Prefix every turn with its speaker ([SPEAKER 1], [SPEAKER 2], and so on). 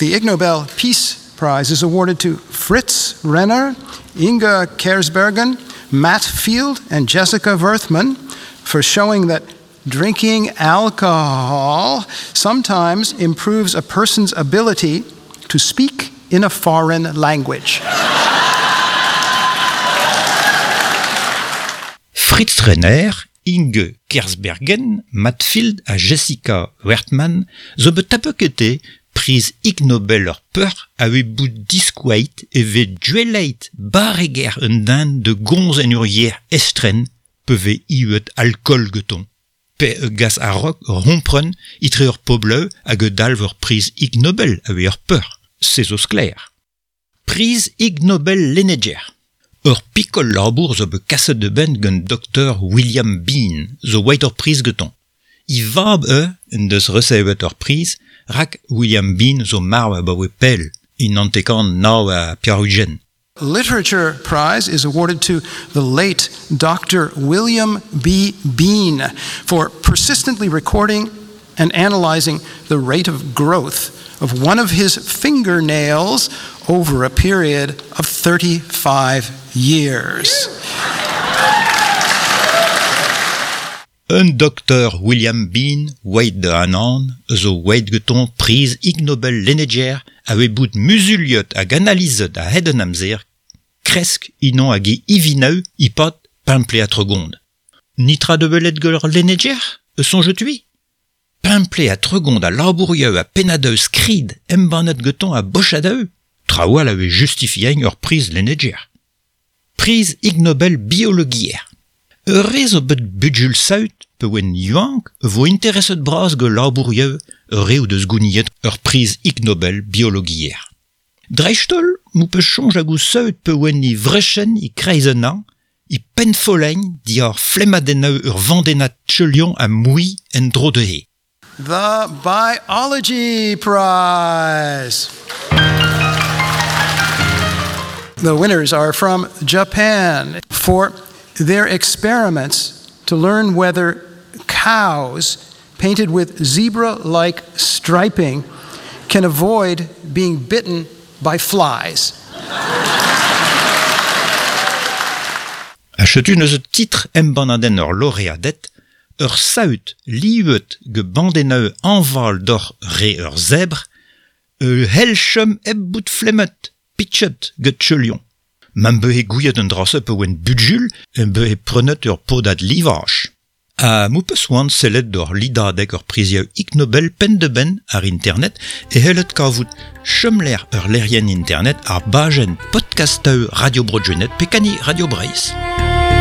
[SPEAKER 1] The Ig Nobel Peace Prize is awarded to Fritz Renner, Inge Kersbergen, Matt Field, and Jessica Werthmann for showing that drinking alcohol sometimes improves a person's ability to speak in a foreign language.
[SPEAKER 2] Fritz Renner, Inge Kersbergen, Matt Field ha Jessica Werthmann zo bet tapet gete priz Ig Nobel ur peoc'h a oe bout diskouaet e vez duelleit barreger un den de gomz en ur yer estren pe vez iwet alkool geton. Pe e gas a-raok ur c'hompren etre ur pobleu hag e dalv ur priz Ig Nobel a oe ur peoc'h, se zo sklaer. Priz Ig Nobel lenneger. Ur pikol labour zo bet kaset da benn gant doktor William Bean zo oeit ur priz getoñ. E vab eo en deus resevet ur priz rak William Bean zo marv abaoe pell, e 989.
[SPEAKER 1] Literature Prize is awarded to the late Dr. William B. Bean for persistently recording and analyzing the rate of growth of one of his fingernails over a period of 35 years.
[SPEAKER 2] Un doktor William Bean, oeit da Anaon, zo oeit getoñ priz Ig Nobel lenneger a oe bout muzuliet hag analizet a-hed an amzer kresk unan hag e ivinaou e-pad pemp plez ha tregont. Nitra da welet gant ur lenneger, e soñjet-hui? Pemp plez ha tregont a labourioù ha pennadoù skrid embannet getoñ a bochadoù, traoù all a oe justifiein ur priz lenneger. Priz Ig Nobel biologiezh. Ur re zo bet bugul saout pe oant yaouank vo intereset bras gant labourioù ur re o deus gouniet ur priz Ig Nobel biologiezh. Dreist-holl m'ho peus soñj hag o saout pe oant e vrechenn e-kreiz an hañv, e pennfollegn diwar flemmadennoù ur vandennad teuliañ ha mouilh en-dro dezhe.
[SPEAKER 1] The Biology Prize. The winners are from Japan for their experiments to learn whether cows painted with zebra-like striping can avoid being bitten by flies.
[SPEAKER 2] Ha setu neuze titr embannadenn ur loreaded, ur saout livet gant bandennoù hañval doc'h re ur zebr, e c'hell chom hep bout flemmet, pitchet gant teulion. Ma'm behe gouiet an dra-se pa oan bugul em behe prenet ur podad livaj. Ha m'ho peus c'hoant sellet doc'h lidadeg ur prizioù Ig Nobel penn-da-benn àr internet e c'hellet kavout chomlec'h ur lec'hienn internet àr bajenn podkastoù Radio Bro Gwened pe kani Radio Breizh.